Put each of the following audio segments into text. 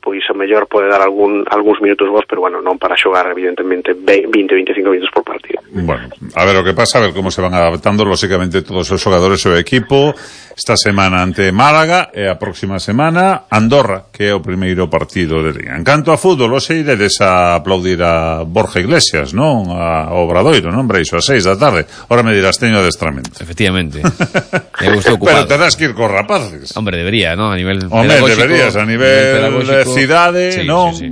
pois a mellor pode dar algúns minutos vos, pero bueno, non para xogar evidentemente 20-25 minutos por partido. Bueno, a ver o que pasa, a ver como se van adaptando lógicamente todos os xogadores e o equipo. Esta semana ante Málaga e a próxima semana Andorra, que é o primeiro partido de Liga. En canto a fútbol, hoxe iredes a aplaudir a Borja Iglesias, non? Ao Obradoiro, non? Breixo, a 6 da tarde. Ora me dirás, teño adestramento. Efectivamente. Me gustou ocupado. Pero terás que ir cos rapaces. Hombre, debería, ¿no? A nivel pedagógico. Hombre, deberías, a nivel de cidade, sí, non? Sí.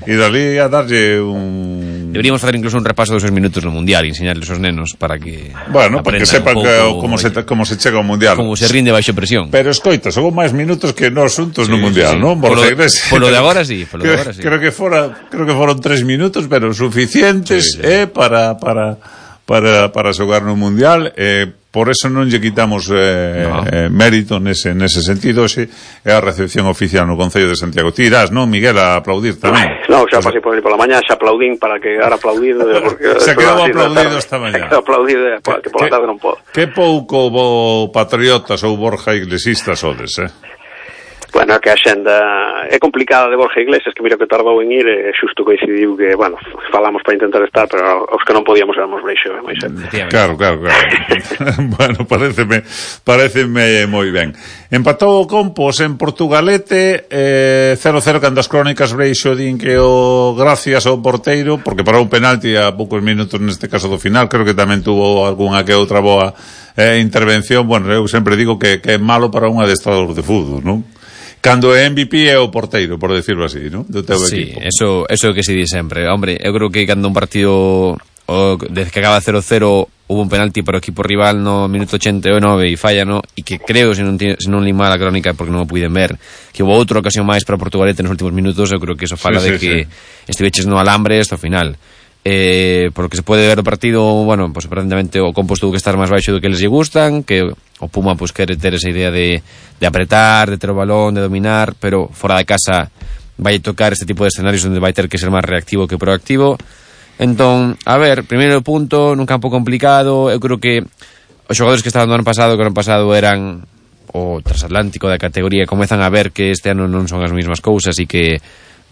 E dali a darlle un... Deberíamos facer incluso un repaso dos minutos no Mundial e enseñarles aos nenos para que... Bueno, para que sepan como se chega ao Mundial. Como se rinde baixo presión. Pero escoita, son máis minutos que nós xuntos no Mundial, non? Polo de agora sí, Creo que foron 3 minutos, pero suficientes para xogar no Mundial. Por eso non lle quitamos mérito nese sentido. Xe é a recepción oficial no Concello de Santiago. Ti irás, non, Miguel, a aplaudir tamén? Non, xa pasei por ali pola mañá, xa aplaudín para quedar aplaudido, porque se quedou aplaudido esta mañá. Se quedou aplaudido, que pola tarde non podo. Que pouco patriotas ou Borja Iglesistas sodes, Bueno, que a xenda é complicada de Borja Iglesias, que mira que tardou en ir, e xusto coincidiu que, bueno, falamos para intentar estar, pero os que non podíamos éramos Breixo, moi xente. Claro. Bueno, pareceme moi ben. Empatou o Compos en Portugalete, 0-0 cando as crónicas Breixo din que o gracias ao porteiro, porque parou un penalti a poucos minutos neste caso do final, creo que tamén tuvo algunha que outra boa intervención. Bueno, eu sempre digo que é malo para un adestrador de fútbol, non? Cando é MVP é o porteiro, por decirlo así, ¿no? Do teu equipo. Sí, eso é o que se di sempre. Hombre, eu creo que cando un partido desde que acaba 0-0 hubo un penalti para o equipo rival no minuto 89 e falla, no? E que creo, se non li mal a crónica porque non o puiden ver, que houve outra ocasión máis para Portugalete nos últimos minutos. Eu creo que eso fala de que estiveches no alambre hasta o final. Por lo que se pode ver o partido, bueno, pues aparentemente o Compos tuvo que estar máis baixo do que les lle gustan, que o Puma pues quere ter esa idea de apretar, de ter o balón, de dominar, pero fora de casa vai tocar este tipo de escenarios onde vai ter que ser máis reactivo que proactivo. Entón, a ver, primeiro punto nun campo complicado. Eu creo que os xogadores que estaban do ano pasado, que o ano pasado eran o transatlántico da categoría, comezan a ver que este ano non son as mesmas cousas e que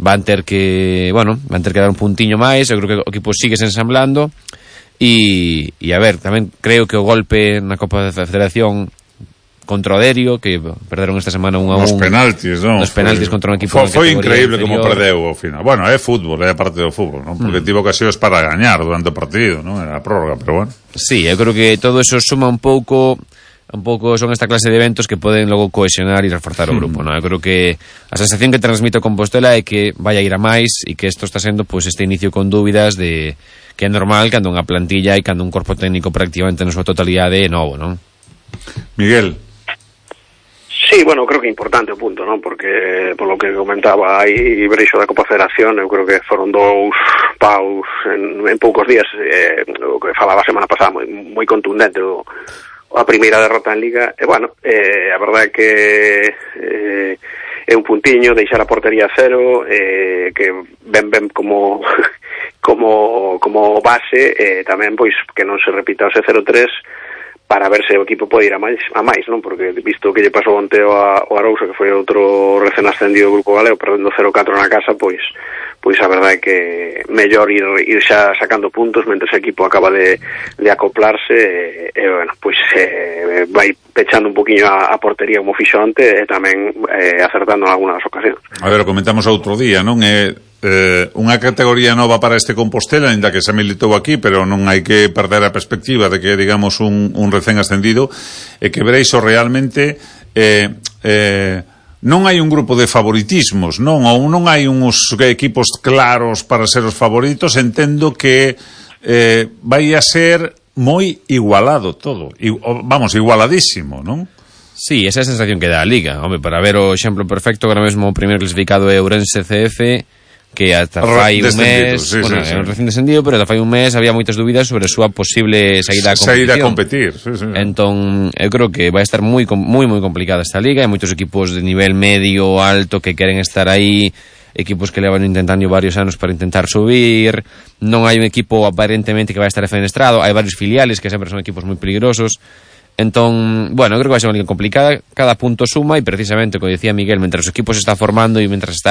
van ter que dar un puntiño máis. Eu creo que o equipo sigue se ensamblando e a ver, tamén creo que o golpe na Copa da Federación contra o Derio, que perderon esta semana 1-1 nos penaltis, non? Nos penaltis contra un equipo foi increíble como perdeu ao final. Bueno, é fútbol, é parte do fútbol, non? Porque tivo ocasións para gañar durante o partido, non? Era a prórroga, pero bueno. Sí, eu creo que todo eso suma un pouco son esta clase de eventos que poden logo cohesionar e reforzar o grupo, non? Eu creo que a sensación que transmite o Compostela é que vai a ir a máis e que isto está sendo pues este inicio con dúbidas de que é normal cando unha plantilla e cando un corpo técnico prácticamente na súa totalidade é novo, non? Miguel. Sí, bueno, creo que é importante o punto, non? Porque, por lo que comentaba aí Breixo da Copa Federación, eu creo que foron 2 paus en poucos días, o que falaba a semana pasada, moi contundente a primeira derrota en Liga. E, bueno, a verdade é que é un puntiño, deixar a portería a cero, que ben como base, tamén, pois, que non se repita ese 0-3, para ver se o equipo pode ir a máis, non? Porque visto que lle pasou onte ao Arousa, que foi outro recén ascendido do Grupo Galego, perdendo 0-4 na casa, pois a verdade é que mellor ir xa sacando puntos mentre o equipo acaba de acoplarse, e bueno, pois vai pechando un poquinho a portería como fixo onte, e tamén acertando en algunhas ocasións. A ver, o comentamos outro día, non? Unha categoría nova para este Compostela, ainda que se militou aquí, pero non hai que perder a perspectiva de que, digamos, un recén ascendido, e que Breixo realmente non hai un grupo de favoritismos, non? Ou non hai uns equipos claros para ser os favoritos. Entendo que vai a ser moi igualado todo, vamos, igualadísimo, non? Sí, esa é a sensación que dá a Liga. Hombre, para ver o exemplo perfecto, agora mesmo o primeiro clasificado é Ourense CF, que ata fai un mes, é un recén descendido, pero ata fai un mes había moitas dúbidas sobre a súa posible saída a competir. Entón, eu creo que vai estar moi complicada esta liga. Hai moitos equipos de nivel medio, alto, que queren estar aí, equipos que levan intentando varios anos para intentar subir. Non hai un equipo aparentemente que vai estar defenestrado, hai varios filiales que sempre son equipos moi peligrosos. Entón, bueno, eu creo que vai ser unha liga complicada, cada punto suma, e precisamente, como decía Miguel, mentre os equipos se está formando e mentre está